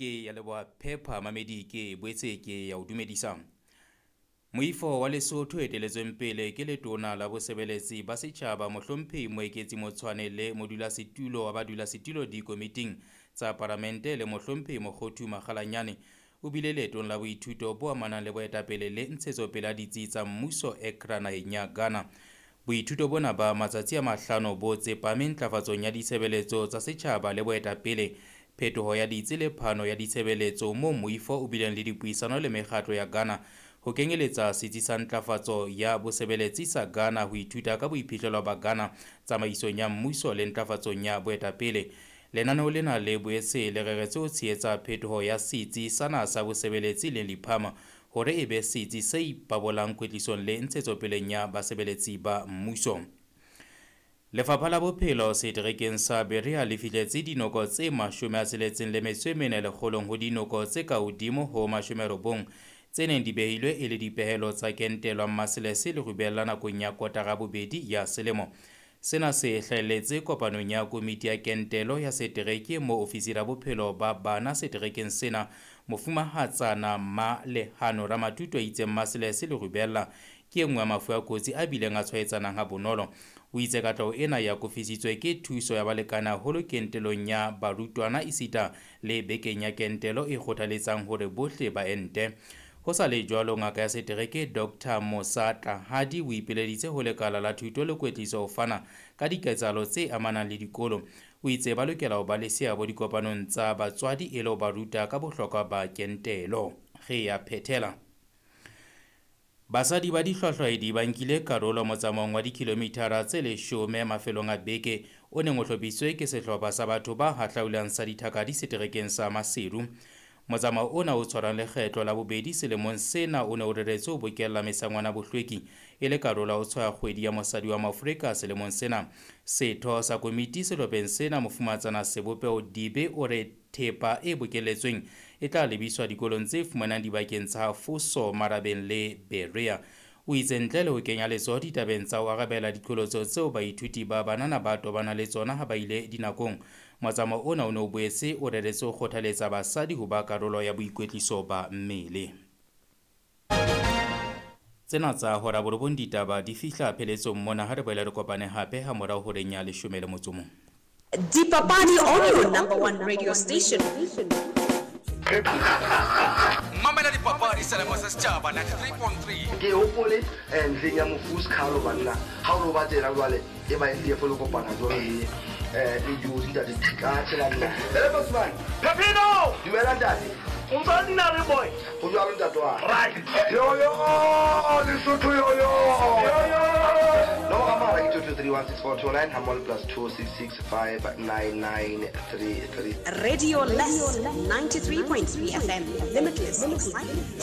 Ke ya leboha Phepha Mamedi ke boetse ke ya o dumedisa. Moifo wa Lesotho eteletsweng pele ke letona la bosebeletsi ba setjhaba Mohlomphehi Moeketsi Motshwane le modulasetulo wa badulasetulo dikomiting tsa Palamente le Mohlomphehi Mokgothu Makgalanyane o bile leetong la boithuto bo amanang le boetapele le ntshetsopele ya ditsi tsa mmuso Accra naheng ya Ghana. Boithuto bona ba matsatsi a mahlano bo tsepame ntlafatsong ya ditshebeletso tsa setjhaba le boetapele, phetoho ya ditsi le phano ya ditshebeletso moo moifo o bileng le dipuisano le mekgatlo ya Ghana ho kenyeletsa setsi sa ntlafatso ya bosebeletsi sa Ghana ho ithuta ka boiphihlelo ba Ghana tsamaisong ya mmuso le ntlafatsong ya boetapele. Lenaneo lena le boetse le reretswe ho tshehetsa phetoho ya setsi sa naha sa bosebeletsi le Liphama hore e be setsi se ipabolang kwetlisong le ntshetsopeleng ya basebeletsi ba mmuso. Lefapha la Bophelo seterekeng sa Berea le fihletse dinoko tse 64 lekgolong ho dinoko tse ka hodimo ho 90 tse neng di behilwe e le dipehelo tsa kentelwa mmaselese le rubella nakong ya kotara bobedi ya selemo. Sena se hlahelletse kopanong ya komiti ya kentelo ya setereke moo ofisiri ya bophelo ba bana seterekeng sena Mofumahatsana Ma Lehano Ramatuto a itseng maselese le rubella ke e nngwe ya mafu a kotsi a bileng a tshwaetsanang ha bonolo. O itse katleho ena e akofisitswe ke thuso ya balekane haholo kentelong ya barutwana esita le bekeng ya kentelo e kgothaletsang hore bohle ba ente. Ho sa le jwalo, ngaka ya setereke Dr Mosa Tlahadi o ipileditse ho lekala la thuto le kwetliso ho fana ka diketsahalo tse amanang le dikolo. O itse ba lokela ho ba le seabo dikopanong tsa batswadi e le ho ba ruta ka bohlokwa ba kentelo. Re ya phethela. Basadi ba dihlwahlwaedi ba nkile karolo motsamaong wa dikilomithara tse 10 mafelong a beke o neng o hlophisitswe ke sehlopha sa batho ba hahlaulang sa dithakadi seterekeng sa Maseru. Motsamao ona o tshwarang lekgetlo la bobedi selemong sena o ne o reretswe ho bokella mesangwana bohlweki e le karolo ya ho tshwaya kgwedi ya mosadi wa Moafrika selemong sena. Setho sa komiti sehlopheng sena Mofumatsana Sebopeho Dibe o re thepa e bokelletsweng e tla lebiswa dikolong tse fumanang dibakeng tsa Foso, Marabeng le Berea. O itse ntle le ho kenya letsoho ditabeng tsa ho arabela diqholotso tseo baithuti ba banana ba tobanang le tsona ha ba ile dinakong, motsamao ona o ne o boetse o reretswe ho kgothaletsa basadi ho ba karolo ya boikwetliso ba mmele. Tsena tsa hora borobong ditaba di fihla pheletsong mona ha re boela re kopane hape ha morao horeng ya 11. Dipapadi on your number one radio station. Mamela dipapadi selemo sa setjhaba 93.3. Ke hopole ntlheng ya mofu Skhalo banna ha o no ba tsena jwale e ba e fo le kopana jwalo le le Jozi ntate ka tshela nna. Hele Bosman. Pepino! Dumela ntate. O ntse nna le boy. O jwalo ntate wa. Right. Yo yo Lesotho yo yo. Yo yo. Nomoro ya mohala ke 22316429 hammoho le plus 26659933. Radio Less 93.3 FM. Limitless excitement.